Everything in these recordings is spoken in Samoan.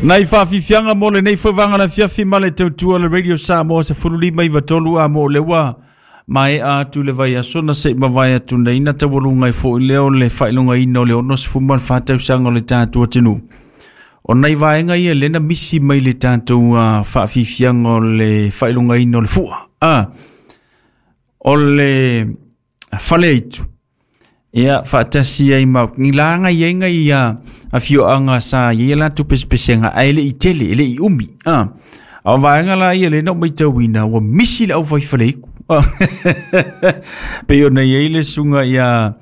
Nai faafiafiaga mo lenei foi vaega o le afiafi ma le tautua le Radio Samoa 15 93 a mo le ua maea atu le vaiaso na se i mavae atu nei na taualuga ai foi lea o le faailogaina o le 64 tausaga o le tatou atunuu. O nai vaega ia lea na misi mai le tatou faafiafiaga o le faailogaina o le fua. O le faleaitu, ia faatasi ai ma ni laga i ai nai afioaga sa i ai latou pesepesega ae le i tele, e le i umi. A o vaega la ia lea na ou matauina ua misi le aufai faleiku. Pei ona i ai le susuga ia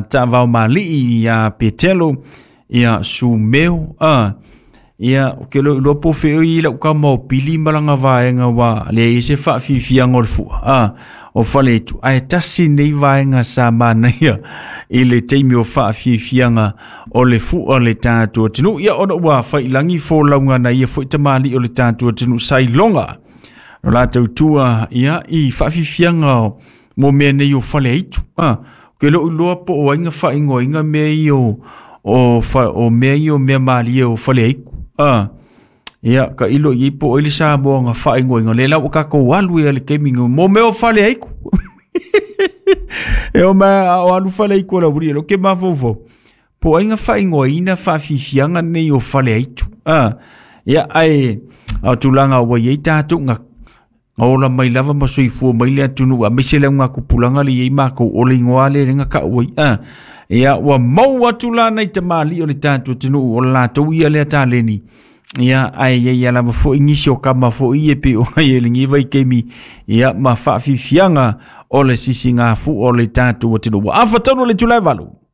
Taavao Malii ia Petelo ia Sumeo ia o ke lo po fe i lau ka mau pili ma langa vaega ua leai se faafiafiaga o le fua o faleitu ae tasi nei vaega sa manaia i le taimi o faafiafiaga o le fua o le tatou atunuu. Ia ona ua failagi folauga na ia foi tamalii o le tatou atunuu sa iloga o latou tua ia i faafiafiaga mo mea nei o faleaitu. Ke lou iloa po o ai na faaigoaina mea ia o mea ia o mea malie o faleaitu. Ia ka ilo i po o ai le Samoa na faaigoaina le la ua tatou alu ia le taimi mo mea o faleaitu. E o ma o alu faleaitu o la uri lo ke mafaufau. Po o ai na faaigoaina faafiafiaga nei o faleaitu. Ia ai o tulaga ua i ai tatou na ola mai lava ma soifua mai le atunuu a maise le auga tupulaga le i ai matou o le igoa le lenga taua ai. Ia ua maua atu la nai tamalii o le tatou atunuu o le latou ia lea taleni. Ia ai ia ia lava foi nisi o kama foi e pe o ai e lenei vaitaimi ia ma faafiafiaga o le sisigafu o le tatou atunuu. Ua afa tonu le itula e 8.